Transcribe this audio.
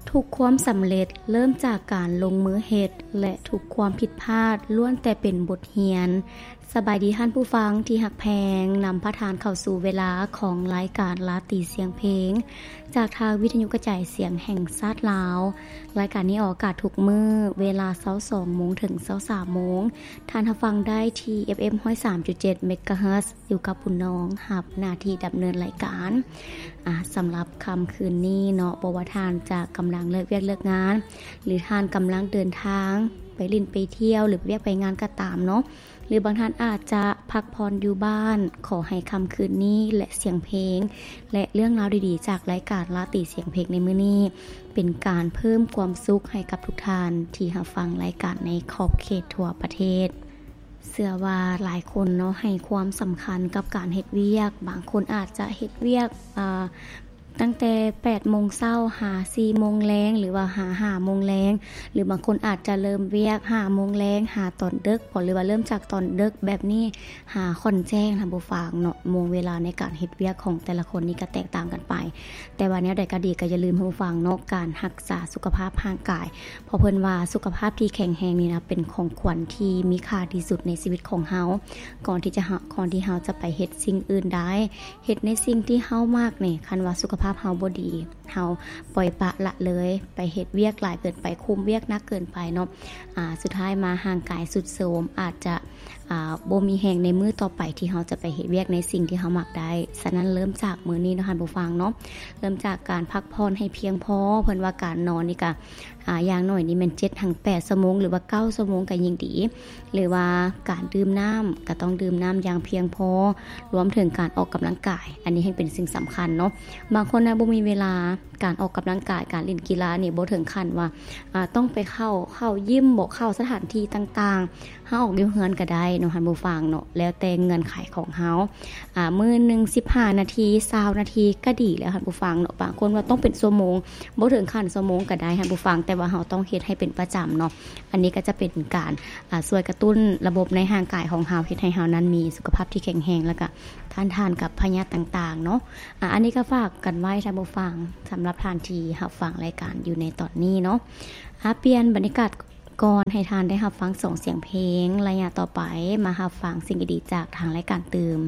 ທຸກຄວາມສຳເລັດເລີ່ມຈາກການລົງມືເຮັດ ແລະ ທຸກຄວາມຜິດພາດລ້ວນແຕ່ເປັນບົດຮຽນ. ສະບາຍດີທ່ານຜູ້ຟັງທີ່ຮັກແພງ, ນຳພາທ່ານເຂົ້າສູ່ເວລາຂອງລາຍການລາຕີສຽງເພງ ຈາກທາງວິທະຍຸກະຈາຍສຽງແຫ່ງຊາດລາວ. ລາຍການນີ້ອອກອາກາດທຸກມື້ ເວລາຊາວສອງໂມງເຖິງຊາວສາມໂມງ. ທ່ານຮັບຟັງໄດ້ທີ່ ເອັຟເອັມ ຮ້ອຍສາມຈຸດເຈັດ ເມກາເຮີດ ຢູ່ກັບບຸນນອງ ຮັບໜ້າທີ່ດຳເນີນລາຍການ. ອາ ສຳລັບຄ່ຳຄືນນີ້ເນາະ, ບໍ່ວ່າທ່ານຈະກຳລັງເລີກວຽກເລີກງານ ຫຼື ທ່ານກຳລັງເດີນທາງໄປຫຼິ້ນໄປທ່ຽວ ຫຼື ໄປວຽກໄປງານກໍຕາມເນາະ, ຫຼື ບາງທ່ານອາດຈະພັກຜ່ອນຢູ່ບ້ານ, ຂໍໃຫ້ຄ່ຳຄືນນີ້ ແລະ ສຽງເພງ ແລະ ເລື່ອງລາວດີໆ ຈາກລາຍການລາຕີສຽງເພງໃນມື້ນີ້ ເປັນການເພີ່ມຄວາມສຸກໃຫ້ກັບທຸກທ່ານທີ່ຮັບຟັງລາຍການໃນຂອບເຂດທົ່ວປະເທດ. ເຊື່ອວ່າຫຼາຍຄົນເນາະ ໃຫ້ຄວາມສຳຄັນກັບການເຮັດວຽກ. ບາງຄົນອາດຈະເຮັດວຽກ ອາ ຕັ້ງແຕ່ແປດໂມງເຊົ້າຫາສີ່ໂມງແລງ ຫຼືວ່າຫາຫ້າໂມງແລງ, ຫຼືບາງຄົນອາດຈະເລີ່ມວຽກຫ້າໂມງແລງຫາຕອນເດິກບໍ ຫຼືວ່າເລີ່ມຈາກຕອນເດິກແບບນີ້ຫາຄ່ອນແຈ້ງ ທ່ານຜູ້ຟັງເນາະ. ໂມງເວລາໃນການເຮັດວຽກຂອງແຕ່ລະຄົນນີ້ກໍແຕກຕ່າງກັນໄປ, ແຕ່ວ່າແນວໃດກໍດີ ກໍຢ່າລືມ ທ່ານຜູ້ຟັງເນາະ, ການຮັກສາສຸຂະພາບຮ່າງກາຍ ເພາະເພິ່ນວ່າສຸຂະພາບທີ່ແຂງແຮງນີ້ນະ ເປັນຂອງຂວັນທີ່ມີຄ່າທີ່ສຸດໃນຊີວິດຂອງເຮົາ. ກ່ອນທີ່ຈະເຮົາ ກ່ອນທີ່ເຮົາຈະໄປເຮັດສິ່ງອື່ນໃດ, ເຮັດໃນສິ່ງທີ່ເຮົາມັກນີ້, ຄັນວ່າສຸຂະພາບເຮົາບໍ່ດີ, ເຮົາປ່ອຍປະລະເລີຍ, ໄປເຮັດວຽກຫຼາຍເກີນໄປ, ຄຸມວຽກໜັກເກີນໄປເນາະ, ອາ ສຸດທ້າຍມາຮ່າງກາຍຊຸດໂຊມ, ອາດຈະ ອາ ບໍ່ມີແຮງໃນມື້ຕໍ່ໄປທີ່ເຮົາຈະໄປເຮັດວຽກໃນສິ່ງທີ່ເຮົາມັກໄດ້. ສະນັ້ນເລີ່ມຈາກມື້ນີ້ເນາະ ທ່ານຜູ້ຟັງເນາະ, ເລີ່ມຈາກການພັກຜ່ອນໃຫ້ພຽງພໍ. ເພິ່ນວ່າການນອນນີ້ກະ ອາ ຢ່າງໜ້ອຍນີ້ແມ່ນເຈັດຫາແປດຊົ່ວໂມງ ຫຼືວ່າເກົ້າຊົ່ວໂມງກໍຍິ່ງດີ, ຫຼືວ່າການດື່ມນ້ຳກໍຕ້ອງດື່ມນ້ຳຢ່າງພຽງພໍ, ລວມເຖິງການອອກກຳລັງກາຍ, ອັນນີ້ແຮ່ງເປັນສິ່ງສຳຄັນເນາະ. ບາງຄົນນະ ບໍ່ມີເວລາ, ການອອກກຳລັງກາຍ, ການຫຼິ້ນກິລານີ້ ບໍ່ເຖິງຂັ້ນວ່າ ອາ ຕ້ອງໄປເຂົ້າ ເຂົ້າຢິມບໍ ເຂົ້າສະຖານທີ່ຕ່າງໆ, ເຮົາອອກຢູ່ເຮືອນກໍໄດ້ເນາະ ທ່ານຜູ້ຟັງເນາະ, ແລ້ວແຕ່ເງື່ອນໄຂຂອງເຮົາ. ອາ ມື້ໜຶ່ງສິບຫ້ານາທີ ຊາວນາທີກໍດີແລ້ວ ທ່ານຜູ້ຟັງເນາະ. ບາງຄົນວ່າຕ້ອງເປັນຊົ່ວໂມງ, ບໍ່ເຖິງຂັ້ນຊົ່ວໂມງກໍໄດ້ ທ່ານຜູ້ຟັງ, ແຕ່ວ່າເຮົາຕ້ອງເຮັດໃຫ້ເປັນປະຈຳເນາະ. ອັນນີ້ກໍຈະເປັນການ ອາ ຊ່ວຍກະຕຸ້ນລະບົບໃນຮ່າງກາຍຂອງເຮົາ, ເຮັດໃຫ້ເຮົານັ້ນມີສຸຂະພາບທີ່ແຂງແຮງ ແລ້ວກໍຕ້ານທານກັບພະຍາດຕ່າງໆເນາະ. ອາ ອັນນີ້ກໍຝາກກັນໄວ້ ທ່ານຜູ້ຟັງ, ສຳລັບທ່ານທີ່ຮັບຟັງລາຍການຢູ່ໃນຕອນນີ້ເນາະ. ອາ ປ່ຽນບັນຍາກາດ ກ່ອນໃຫ້ທ່ານໄດ້ຮັບຟັງສອງສຽງເພງ, ໄລຍະຕໍ່ໄປມາຮັບຟັງສິ່ງດີໆຈາກທາງລາຍການຕື່ມ.